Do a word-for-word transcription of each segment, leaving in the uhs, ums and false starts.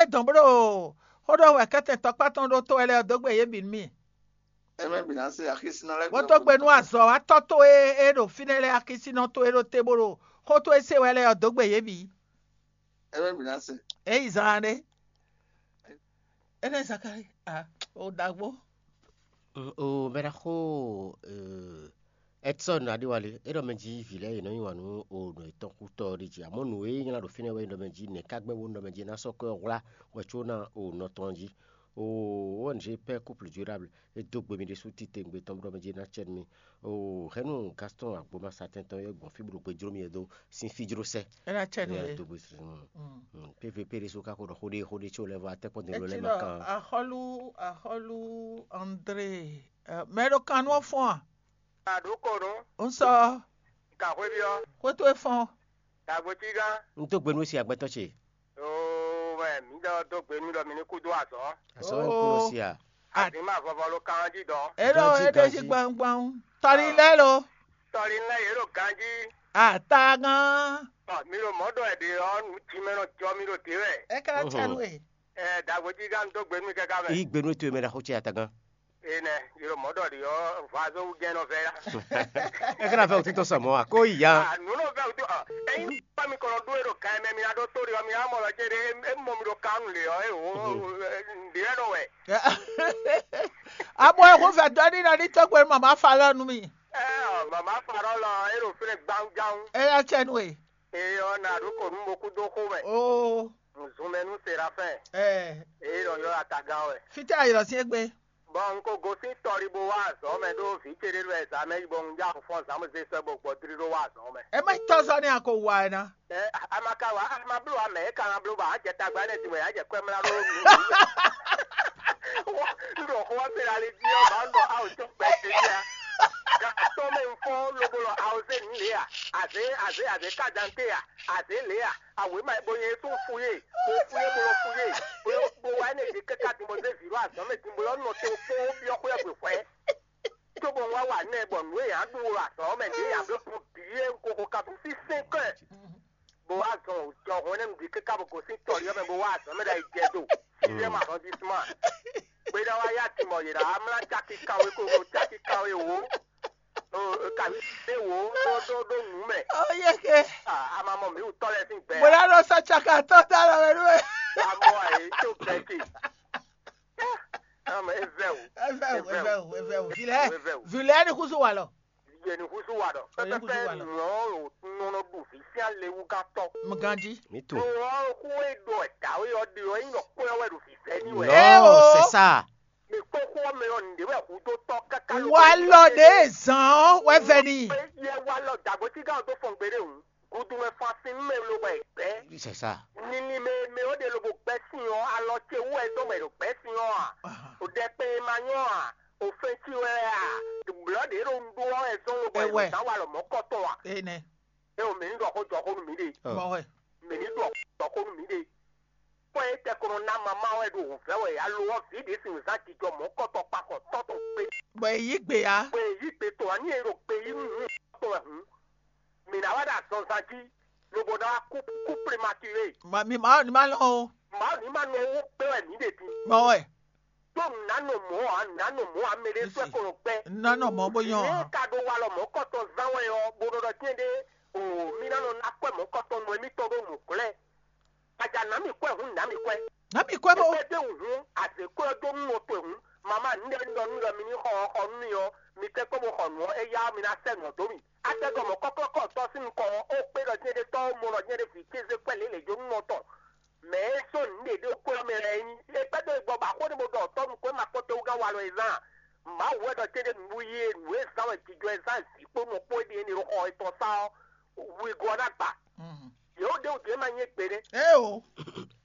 Dɔn bó ɖo xó ɖɔ wɛ kɛ́tɛn tɔkpá tɔn ɖó tó wɛ lɛ́ɛ ɔ́ dó gbe yě bǐ nú mì. Bó tó gbe nú azɔ̌watɔ́ towe e ɖo fínɛ́ lɛ́ɛ, akísínɔ towe ɖo te bó ɖo xó towe se wɛ lɛ́ɛ ɔ́ dó gbe yě bǐ. É yi zan ɖé. Énɛ́ Zakalí, a o ɖagbó. O mɛ ɖaxó Edson Adéwálé, é ɖɔ mɛ jí vǐ lɛ́ɛ yě nɔ nyi wǎn nú o nɔ yětɔn kútɔ́ ɔ́ ɖi jí. Amɔ̌ nǔ e nylá ɖo fínɛ́ wɛ é ɖɔ mɛ jí nɛ̌ ká gbɛ́ bónú ɖɔ mɛ jí ná sɔ́ kwɛ́ ɔ́ hwlá wɛ có ná o nɔ tɔn jí. O O N G Père Couple Durable, é dó gbe mi ɖésú titewungbe tɔn bó ɖɔ mɛ jí ná cɛ nú mi. O hɛ̌nnu Gaston Agboma satɛn tɔn e gbɔn fí bó ɖo gbe jló mi é dó sín fí jló sɛ́. É ná cɛ nú É yě. Dó gbe sún. Mm. P V P ɖésú ka ko ɖɔ xó ɖé xó ɖé có lɛ́ɛ vɔ atɛ́kpɔ́ dé Etí lɛ́ɛ ma ɖɔ kan. Axɔ́lú axɔ́lú André, ɛ, mɛ ɖo kan nú ɔ́ fɔ́n a? Aɖǒkɔnú, Un sɔ gǎxwéví ɔ́, xwé towe fɔ́n. Dǎgbétígán. Un dó gbe nú we si agbɛtɔ́ ce. Oo, wɛ mǐ ɖɔ dó gbe nú ɖɔ mi ní kú dó azɔ̌. Azɔ̌ wɛ un kú nɔ si a? Azǐn ma vɔvɔ ló kan ɔ́ jí dɔn. É ɖɔ Ganjí, é ɖe jí ganjí. Gbangban. Tɔlí lɛ́ɛ lo. Tɔlí lɛ́ɛ yě ɖo ganjí. Atagán. Ɔ, mi ɖo mɔ̌ ɖɔ ɛ ɖe ɔ́, nǔ jí mɛ nɔ jɔ mi ɖo dě wɛ. É ka ná cɛ nú we. Ɛ, Dǎgbétígán, un dó gbe nú mi káká mɛ. Yí gbe nú towe mɛ ɖaxó ce atagán. Enɛ, yilo mɔ̌ ɖɔ ɖi ɔ́, vɔazɔ́ wú jɛ́n nɔ vɛ yá. É ka ná vɛ wútu tɔn sɔ mɔ̌ a? Kó yi ya. Ah, nǔ nɔ vɛ wútu ɔ. Ényí bá mi kɔnɔ ɖó e ɖo kan mɛ, mi ná ɖó tó ɖi ɔ́, mi ná mɔ lɔ cé ɖé, é mɔ mi ɖo kan lě ɔ́, é wǒ ɖě lɛ́ɛ nɔ wɛ. Abɔ ɛ xó fɛ dɔ ní na ní tɔgbe mama fa lɔ nu mi. Ɛ ɔ, mama fa ɖɔ lɔ, é ɖo fínɛ gbawunjawun. É yá cɛ nú e. Eye ɔ́, na ɖó kò nú mo kú dó xó mɛ. Oo. Nǔzúnmɛ nú Serafɛ́n. Ɛ. Eye nɔ ylɔ́ atagán wɛ. Fítɛ́ ayǐlɔ sín égbé. Bɔ un ko gosín tɔli bó wá azɔ̌ mɛ ɖó vǐ ce ɖé lɛ́ɛ zǎ mɛ yi bɔ un já fɔ́n zǎn bó zé sɛ́ bó gbɔ dlí ɖó wá azɔ̌ mɛ. É má nyí tɔ́ zɔ́ nɛ́ a ko wa ɛ ná. Ɛ, a ma ka wa, a ma bló ǎ, mɛ e ka ná bló bɔ a jɛ tagba énɛ́ din wɛ a jɛ kwɛ́ mlá ɖó nǔ. Un ɖo xó ɔ́ se ɖo ali jí ɔ́, bǎ un ɖɔ awo tɔn gbɛ ce jí a. Gan atɔ́ mɛ un fɔ́n lobo lɔ awo zé nǔ lě a. Azě azě azě ká dan té a. Azě lě a. Awě ma bo nyɛ sú fu yé, bo fu yé, bo lɔ fu yé, bo lɔ bo wá énɛ́ ɖě káká din bɔ zé vǐ ɖó azɔ̌ mɛ din bo lɔ nɔ te kpó byɔ́ xwé ɔ́ gbe hwɛ̌. Cóbɔ un wá wa nɛ bɔ nǔ e yě ná ɖu ɖo azɔ̌ ɔ́ mɛ ɖě yě ná bló gbɔn bǐ é un ko xo ka bú sínsɛ́n kɔ́ ɛ. Bó wá zɔn jɔhɔn énɛ́ nǔɖé káká bó gosín tɔlí ɔ́ mɛ bó wá azɔ̌ mɛ ɖo ayǐjɛ do. Sixième arrondissement. Gbéɖá wá yá timɔ yě ɖá mlá cáki kawé ko ko cáki kawé wǒ. Kawé wǒ ɖó ɖó ɖó nǔ mɛ. Ó yé ke. Ah, a ma mɔ mǐ wǔtɔ́ lɛ́ɛ sín gbɛ. Mo ná lọ sá caka tɔ́ dá lɔ mɛ nú ẹ. A mɔ àyè tó gbɛ ce. Ame evɛ́ o. Evɛ́ o, evɛ́ o, evɛ́ o. Vilɛ, Evɛ́ o. Vilɛ ni kusu wa lɔ. Yɛ ni kusu wa ɖɔ. Yɛ ni kusu wa ɖɔ. Pɛpɛpɛ nɔ nɔ ɖu vi sín alewúgátɔ. Mganji. Mi to. Lɔ xó e ɖɔ dǎwe ɔ́ ɖe ɔ́, nyí nɔ kpɔ́ wɛ ɖo vǐvɛ́ ní wɛ. Non, c'est ça. Mi kpó xó ɔ́ mɛ ɔ́, nǔɖé wɛ hudó tɔ́ káká. Wa lɔ ɖe zan ɔ́ wɛ vɛ ni. Yɛ wa lɔ dàgbòtígá ɔ́ tó fɔn gbeɖé hǔn. Gudu mɛ fɔ asin nú mɛ lobo yi gbɛ́. C'est ça. Nini mɛ mɛ ó ɖe lobo gbɛ́ sin ɔ́, alɔ ce wú wɛ dó mɛ ɖo gbɛ́ sin ɔ́ a? O ɖɛkpɛ e ma nyɔ́ a? O fɛn ci wɛ a? Blɔ̌ ɖě ɖo un ɖó ɔ́ wɛ zɔ́n lobo yi Ewɛ. Dǎn wa lɔ mɔ̌ kɔtɔn a? Enɛ. É o mɛ ní ɖɔ xó jɔ xó nú mí ɖe. Mɔ wɛ. Mɛ ní ɖɔ jɔ xó nú mí ɖe. Kpɔ́ é tɛ ko nɔ ná mamá wɛ ɖo wǔvɛ́ wɛ alo ɔ́ vǐ ɖě sin zán jijɔ mɔ̌ kɔtɔn kpakɔ tɔ́ tɔn gbé. Bɔ è yí gbe ya. Bɔ è yí gbe tɔn ǎ ní e ɖo gbe yí nú nǔ tɔn wɛ hǔn. Mǐ ná wá ɖo azɔnzan jí, lobo ná wá kú kú prématuré. Ma mi ma ni ma lɔn o. Mǎ ní ma nɔ wó gbé wɛ mǐ ɖe din. Mɔ wɛ. Tó nǔ ná nɔ mɔ̌ ǎ, nǔ ná nɔ mɔ̌ ǎ, mɛ ɖé sɔ́ ɛ ko nɔ gbɛ. Nú ná nɔ mɔ̌ bó nyɔ́ Ní ǎ. Ka ɖo walɔ mɔ̌kɔtɔn zán wɛ ɔ́, bó nɔ ɖɔ tɛ́n ɖé, o mí ná nɔ ná kwɛ́ mɔ̌kɔtɔn nɔ émítɔn ɖó nǔglɛ́. Aja nǎ mì kwɛ́ hǔn, nǎ mì kwɛ́. Nǎ mì kwɛ́ bó. Kpɛ́ dó wǔ hǔn, azě kwɛ́ ɔ́ dó nú nɔ towe hǔn. Mama nǔɖé nɔ nú ɖɔ mi ní xɔ ɔ́ xɔ nú mì ɔ́, mi tɛ́ kpɔ́n bó xɔ nǔ ɔ́, éyá ɔ́ mi ná sɛ́ nǔ ɔ́ dó mì. Atɛ́gɔmɔ kɔ́klɔ́kɔ́ tɔ́ sín nukɔn ɔ́, ó kpé ɖɔ jɛ́n ɖé tɔ́ ó mɔ ɖɔ jɛ́n ɖé vǐ kéze kwɛ́ lě lě jó nú nɔ tɔn. Mɛ e sɔ́ nǔɖé ɖé ó kwɛ́ ɔ́ mɛ lɛ́ɛ é nyí. É kpɛ́ dó e gbɔ bɔ axó ní bó ɖɔ tɔ́ nukɔn é ma kpɔ́n tewúgán walɔ e zán a? Mawu wɛ ɖɔ céɖé nǔ yi e nǔ e zán wɛ jijɔ e zán vǐ kpó nɔ kpó é ɖe énɛ́ ɖo xɔ etɔn sá ɔ́, wigo ɔ́ ná gba. Yě ó ɖe wǔ din é ma nyí égbé nɛ́. Ée o.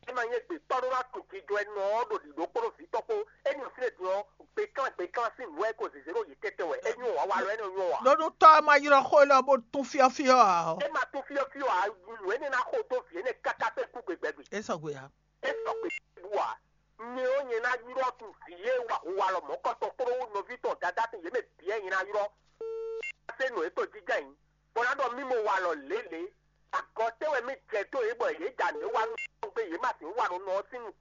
É ma nyí égbé tɔ́ ɖó ná tun jijɔ e nɔ ɔ́ ɖo ɖǐɖó kpó ɖo vǐ tɔn kpó. É nyí fínɛ́ din ɔ́, gběklán gběklán sín nǔ wɛ é ko zězé ɖo yě tɛ́tɛ́ wɛ. É nyí wǎ walɔ énɛ́ nyɔ́ ǎ. Ɖó nú tɔ́ ɔ́ ma ylɔ́ xó élɔ́ bó tún fyɔ́fyɔ́ ǎ ɔ́. É ma tún fyɔ́fyɔ́ ǎ, nǔ énɛ́ ná xo dó vǐ énɛ́ káká kpé kú gbegbɛgbe. É sɔgbe ǎ. É sɔgbe bú ǎ. Nyɛ ɔ́, nyɛ ná ylɔ́ tun vǐ e wa hu walɔ mɔ̌kɔtɔn kpódó nɔví tɔn Dadá sín yě mɛ bǐ wɛ nyɛ ná ylɔ́. Ná se nǔ e tɔn jínjɔ́n ayǐ, bó ná ɖɔ mì mo walɔ lělě. Agɔ tɛ́ wɛ mì jɛ dó yě bɔ yě ja nǔ e wa nú gbé yě ma sixú wa ɖo nɔ ɔ́ sín nukɔn.